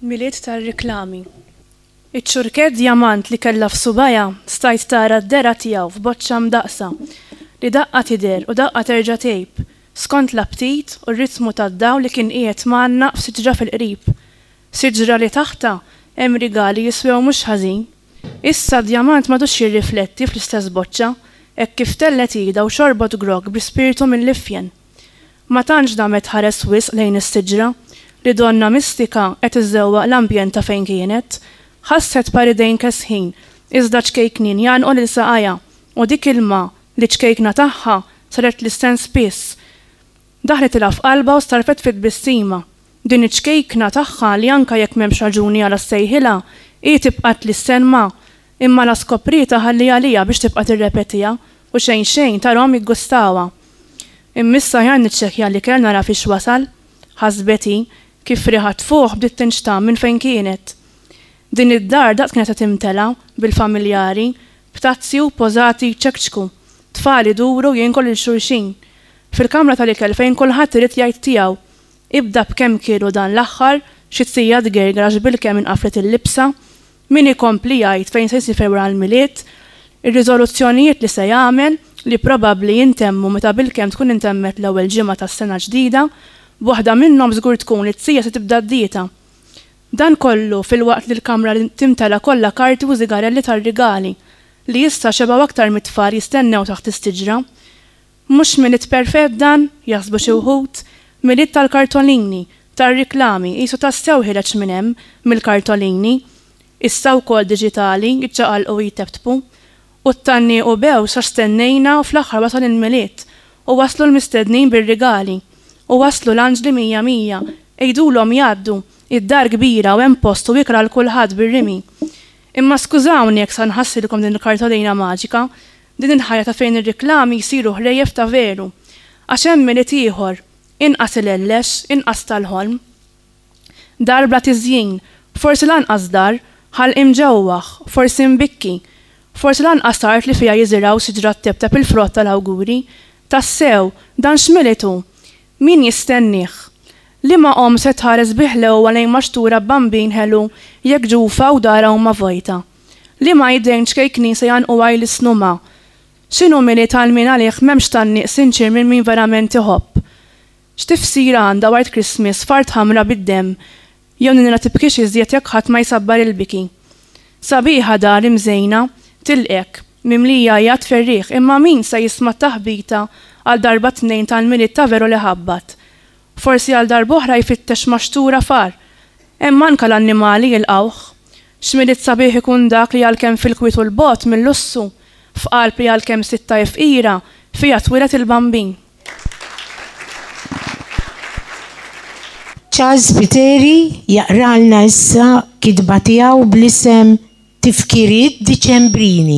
Milied tar-riklami. Iċ-ċurkett djamant li kellha f'subgħajha stajt tara d-dehra tiegħu f'boċċa mdaqqsa, li daqqa tidher u daqqa terġa' tgħib, skont l-aptit u r-ritmu tad-dawl li kien qiegħed mgħannaq f'siġra fil-qrib. Siġra li taħtha hemm rigali jiswew mhux ħażin. Issa d-djamant m'għadux jirrifletti fl-istess boċċa, hekk kif tellgħet idha u xorbot grokk bl-ispirtu mill-ifjen. Ma tantx damet tħares wisq lejn is-siġra, li donnha mistika qed iżżewwaq l-ambjent ta' fejn kienet. Ħasset par idejn kesħin, iżda ċkejknin jgħannqu lil saqajha, u dik il-ma, li ċkejkna tagħha, saret tlissen spiss. Daħlitilha f'qalbha u starfet fi tbissima. Din iċ-ċkejkna tagħha li anke jekk m'hemmx raġuni għala ssejħilha, hi tibqa' tlissen ma. Imma la skoprietha ħalliha għaliha biex tibqa' tirrepetiha u xejn xejn tarahom jiggustawha. Imma issa aħjar niċċekkja l-ikel nara fiex wasal, ħasbet hi, kif riħa tfuħ bdiet tinxtamm minn fejn kienet. Din id-dar daqs kienet se timtela bil-familjari, b'tazzi u pożati jċekċku, tfal iduru u jinklu lil xulxin. Fil-kamra tal-ikel fejn kulħadd irid jgħid tiegħu. Ibda b'kemm kielu dan l-aħħar, xi tija tgerger għax bilkemm inqaflet il-libsa, Min ikompli jgħid fejn se jsiefer wara l-Milied, ir-riżoluzzjonijiet li se jagħmel, li probabbli jintemmu meta bilkemm tkun intemmet l-ewwel ġimgħa tas-sena ġdida, b'waħda minnhom żgur tkun li t-tija se tibda d-dieta. Dan kollu filwaqt li l-kamra timtela kollha karti u żigarelli tar-rigali, li issa xebgħu aktar mit-tfal jistennew taħt is-siġra. Mhux Milied perfett dan, jaħsbu xi wħud, Milied tal-kartolini, tar-riklami, qisu tassew ħireġ minn hemm, mill-kartolini. Issa wkoll diġitali, jiċċaqalqu u jteptpu. U t-tgħanniq u bews għax stennejna u fl-aħħar wasal il-Milied. U waslu l-mistednin bir-rigali. U waslu l-anġli mija mija. Għidulhom jgħaddu. Id-dar kbira u hemm post u ikel għal kulħadd bir-rimi. Imma skużawni jekk sa nħassrilkom din il-kartolina maġika, Din il-ħajja ta' fejn ir-riklami jsiru ħrejjef ta' veru. Għax hemm Milied ieħor, inqas ilellex, inqas tal-ħolm. Dar bla tiżjin, forsi lanqas dar, ħalq imġewwaħ, forsi mbikki. Forsi lanqas art li fiha jiżirgħu siġra tteptep il-frott tal-awguri. Tassew, dan x'Milied hu? Min jistennieh? Liema omm se tħares bi ħlewwa lejn maxtura b'bambin ħelu jekk ġufha u darha huma vojta? Liema idejn ċkejknin se jgħannquha jlissnu ma? X'inhu Milied għal min għalih m'hemmx tgħanniq sinċier minn min verament iħobb? X'tifsira għandha White Christmas f'art ħamra bid-demm jew ninra tibkix iżjed jekk ħadd ma jsabbar il-biki? Sabiħa dar imżejna, tilqgħek, mimlija għajat ferrieħ imma min se jisma' t-taħbita għal darba tnejn tal-Milied ta' veru li ħabbat? Forsi għal darb'oħra jfittex maxtura far. Hemm anka l-annimali jilqgħuh. X'Milied sabiħ ikun dak li għalkemm fil-kwiet u 'l bogħod mil-lussu, f'qalb li għalkemm sitta hi fqira, fiha twieled il-Bambin. Charles Spiteri jaqralna issa kitba tiegħu bl-isem Tifkiriet Diċembrini.